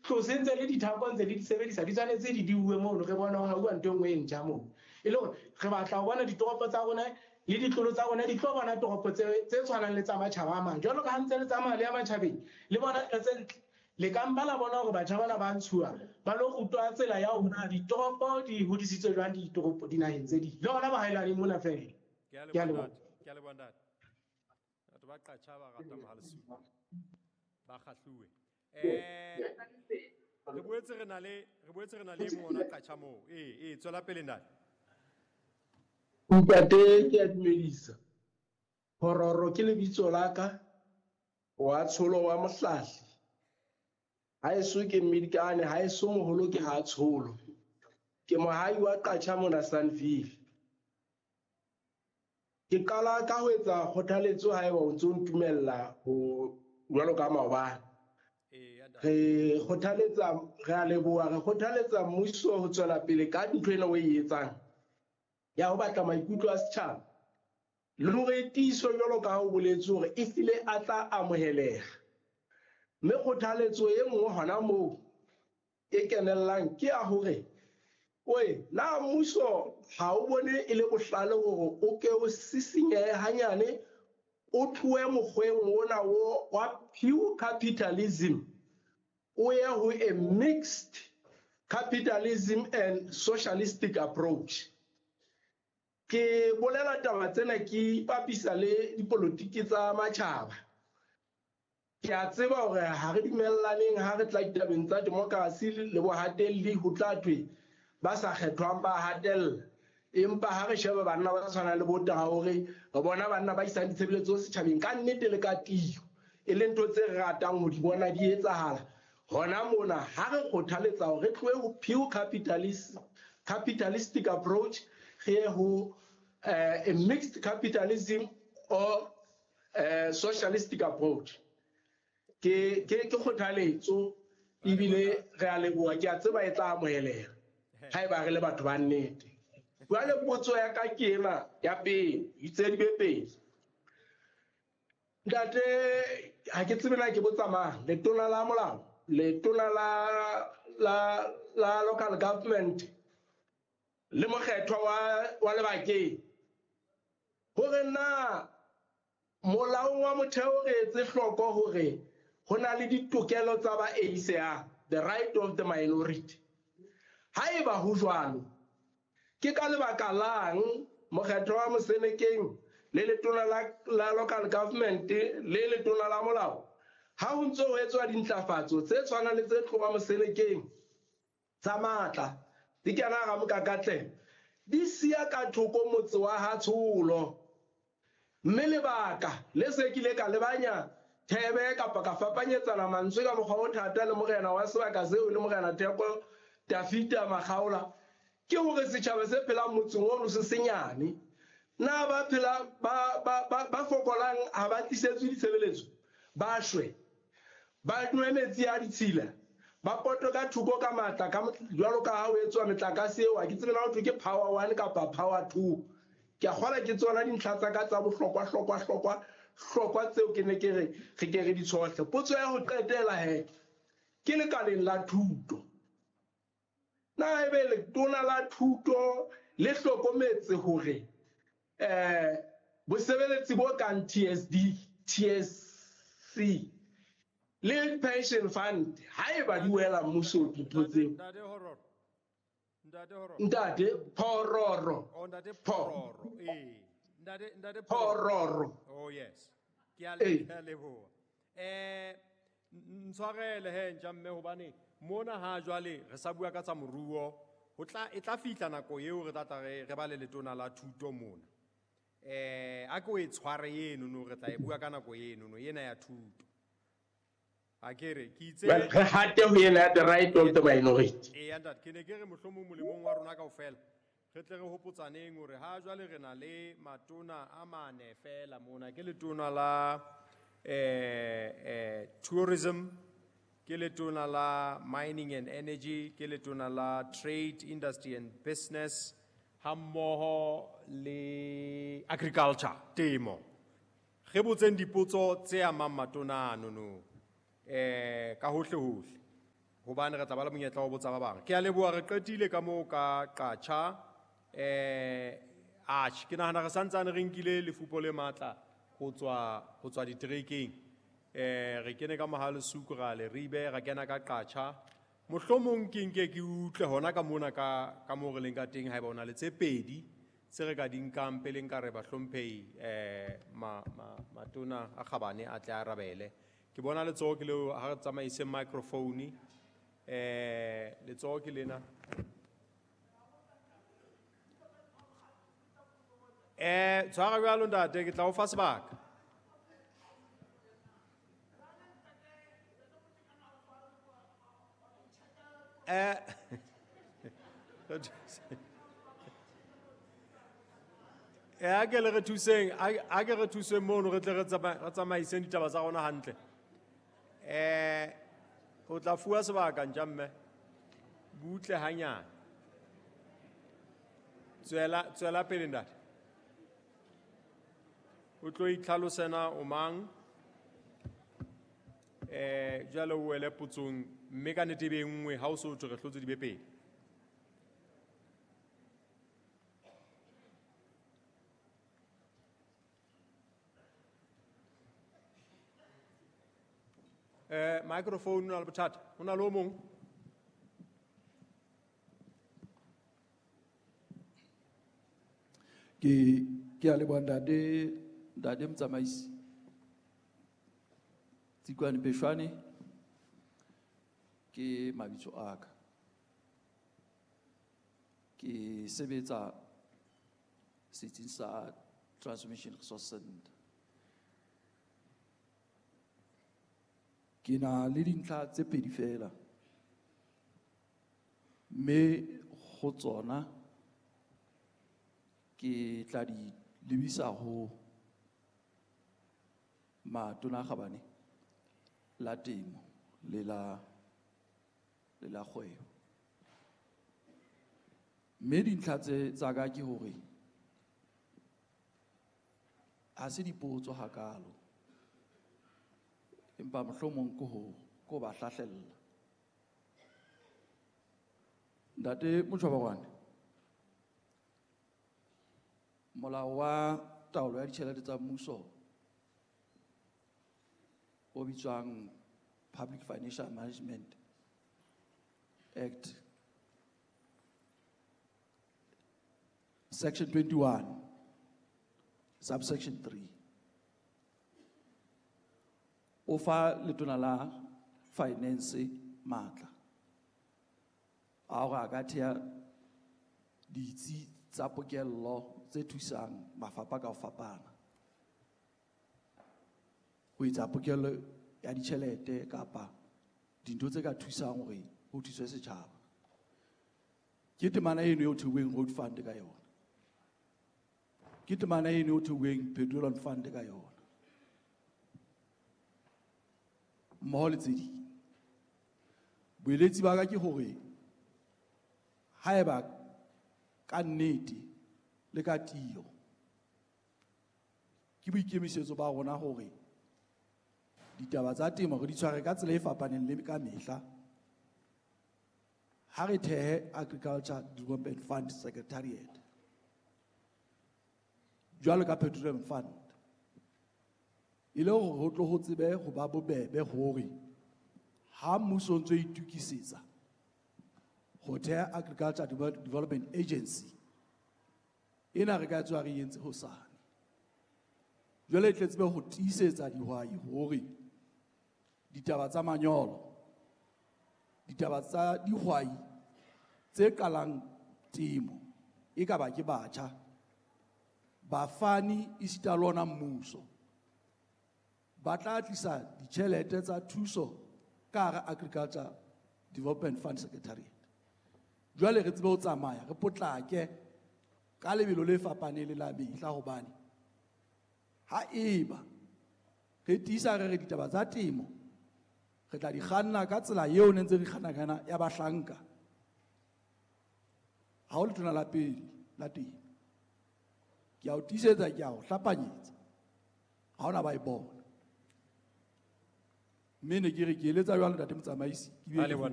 tlose ntse le dithako ntse le di sebedisa, di tshwanetse di diuwe mono, re bone ho hauwa ntho e nngwe e ntjha moo. E le hore re batla ho bona ditoropo tsa rona le ditlolo tsa rona di tlo bona toropo tse tshwanang le tsa matjhaba a mang. Jwalo ka ha ntse le tsamaya le ya matjhabeng, le bona ntho tse ntle. Le ka mpa la bona hore batjha bana ba ntshuwa, ba lo rutwa tsela ya hore na ditoropo di hodisitswe jwang ditoropo dinaheng tse ding. Le hona bohaelaneng mona fela. Ke a Ke a leboha leboha. ntate. Ke a leboha ntate. Batho ba Qacha ba rata Mohalesupa. Ba kgahluwe. Re boetse re na le, re boetse re na le e mong hona Qacha moo. Ee, ee, tswela pele ntate. Ntate, ke a dumedisa. Phororo ke lebitso la ka, wa Tsholo wa Mohlahli. Haeso ke Mmidikane, haeso moholo ke ha Tsholo. Ke mohai wa Qacha mona Sunville. Ke qala ka ho etsa kgothaletso haeba o ntso ntumella ho jwalo ka maobane. Re kgothaletsa, re a leboha, re kgothaletsa mmuso ho tswela pele ka ntho ena o e etsang ya ho batla maikutlo a setjhaba le hore e tiiswe jwalo ka ha o boletse hore e hlile a tla amoheleha. Mme kgothaletso e nngwe hona moo e kenellang ke ya hore oe, na mmuso ha o bone e le bohlale hore o ke o sisinyehe hanyane, o tlohe mokgweng ona o wa pure capitalism, o ye ho a mixed capitalism and socialistic approach. Ke bolela taba tsena ke ipapisa le dipolotiki tsa matjhaba. Ke a tseba hore ha re dumellaneng ha re tla ditabeng tsa democracy le bohatelli ho tla thwe ba sa kgethwang ba hatella. Empa ha re sheba banna ba tshwanang le bo Traore, re bona banna ba isang ditshebeletso setjhabeng ka nnete le ka tiyo, e leng ntho tse re ratang ho di bona di etsahala. Hona mona ha re kgothaletsa hore re tlohe ho pure capitalistic approach, re ye ho a mixed capitalism or socialistic approach. Ke kgothaletso ebile re a leboha, ke a tseba e tla amoheleha haeba re le batho ba nnete. Jwale potso ya ka ke ena ya pele, itse di be pedi. Ntate, ha ke tsebe na ke botsa mang, letona la molao, letona la local government le mokgethwa wa lebakeng, hore na molaong wa motheo re etse hloko hore ho na le ditokelo tsa ba ACA, the right of the minority. Haeba ho jwalo, ke ka lebaka lang mokgetho wa Mosenekeng le letona la local government le letona la molao ha ho ntso ho etswa dintlafatso tse tshwanang le tse tloha Mosenekeng tsa matla di kena hara mokakatlelo, di siya ka thoko motse wa ha Tsholo? Mme lebaka le se ke ile ka lebanya thebe kapa ka fapanyetsana mantswe ka mokgwa o thata le morena wa sebaka seo le morena Theko Tafita Makgaola, ke hore setjhaba se phelang motseng ono se senyane. Na ba phela, ba, ba, ba, ba fokolang ha ba tlisetswe ditshebeletso, ba shwe, ba nwe metsi a ditshila, ba potwe ka thoko ka matla, ka jwalo ka ha ho etswa metlakase eo, ha ke tsebe na ho thwe ke power 1 kapa power 2. Ke a kgolwa ke tsona dintlha tsa ka tsa bohlokwa, hlokwa, hlokwa, hlokwa tseo ke ne ke re, re ke re di tshohle. Potso ya ho qetela he, ke lekaleng la thuto. Na ebe letona la thuto le hlokometse hore bosebeletsi bo kang TSD, TSC le pension fund haeba di wela mmuso dintho tseo? Ntate Horror. Ntate Horror. Ntate Phororo. Oh, Ntate Pho. Phororo. Ee. Ntate, Ntate Phororo. Oh yes. Ke a Ee. ke a leboha. Ntshwarele he ntja mme hobane mona ha jwale re sa bua ka tsa moruo, ho tla e tla fihla nako eo re tla tla re ba le letona la thuto mona. A ke o e tshware eno no, re tla e bua ka nako eno no, ena ya thuto. A ke re, ke itse Well, re hate ho ena ya the right of the minority. Ee, ntate, ke ne ke re mohlomong molemong wa rona kaofela, re tle re hopotsaneng hore ha jwale re na le matona a mane fela mona, ke letona la tourism, ke letona la mining and energy, ke letona la trade, industry and business, hammoho le agriculture, temo. Re botseng dipotso tse amang matona ano no, ka hohle hohle. Hobane re tla ba le monyetla wa ho botsa ba bang. Ke a leboha, re qetile ka moo ka Qacha. Atjhe, ke nahana re santsane re nkile lefupo le matla ho tswa diterekeng. Re kene ka Mohalesuku ra Leribe, ra kena ka Qacha. Mohlomong ke nke ke utlwe hona ka mona ka moo re leng ka teng, haeba o na le tse pedi tse re ka di nkang pele nka re bahlomphehi, matona a kgabane a tle a arabele. Ke bona letsoho ke leo, ha re tsamaise microphone. Letsoho ke lena. Tshwara jwalo ntate, ke tla o fa sebaka. A ke le re thuseng, a ke re thuseng mono, re tle re tsamaiseng ditaba tsa rona hantle. O tla fuwa sebaka ntja mme. Butle hanyane. Tswela pele ntate. O tlo itlhalosena o mang? Jwale o wele potsong, mme ka nnete e be nngwe, ha o so thwe re hlotse di be pedi. Microphone o na le bothata, o na le o mong? Ke a leboha ntate motsamaisi. Tsikwane Pheshwane ke mabitso a ka. Ke sebetsa setsing sa Transmission Resource Center. Ke na le dintlha tse pedi fela. Mme ho tsona ke tla di lebisa ho matona a kgabane la temo le la kgwebo. Mme dintlha tse tsa ka ke hore ha se dipotso hakalo, empa mohlomong ke ho ba hlahlella. Ntate Motjhobarwane, molao wa taolo ya ditjhelete tsa mmuso o bitswang Public Financial Management Act, Section 21, Subsection 3, o fa letona la finance matla a hore a ka thea ditsi tsa pokello tse thusang mafapha ka ho fapana ho etsa pokello ya ditjhelete kapa dintho tse ka thusang hore ho thuswe setjhaba. Ke temana eno eo theuweng road fund ka yona. Ke temana eno eo theuweng petroleum fund ka yona. Mmoho le tse ding. Boeletsi ba ka ke hore haeba ka nnete le ka tiyo ke boikemisetso ba rona hore ditaba tsa temo re di tshware ka tsela e fapaneng le ka mehla, ha re thehe Agriculture Development Fund Secretariat jwalo ka Petroleum Fund, e le hore ho tlo ho tsebe ho ba bobebe hore ha mmuso o ntso itokisetsa ho theha Agriculture Development Agency ena re ka tswa re entse hosane. Jwale e tle tsebe ho tiisetsa dihwai hore ditaba tsa manyolo, ditaba tsa dihwai tse qalang temo, e ka ba ke batjha, bafani esita le ona mmuso, ba tla tlisa ditjhelete tsa thuso ka hara Agriculture Development Fund Secretariat. Jwale re tsebe ho tsamaya re potlake ka lebelo le fapaneng le la mehla, hobane ha eba re tiisa re re ditaba tsa temo re tla di kganna ka tsela eo ne ntse re kganna ka yona ya bahlanka, ha o letona la pele la temo, ke a o tiisetsa, ke a o hlapanyetsa, ha hona ba e bona. Mme ne ke re ke eletsa jwalo ntate motsamaisi, ke bile A leboha.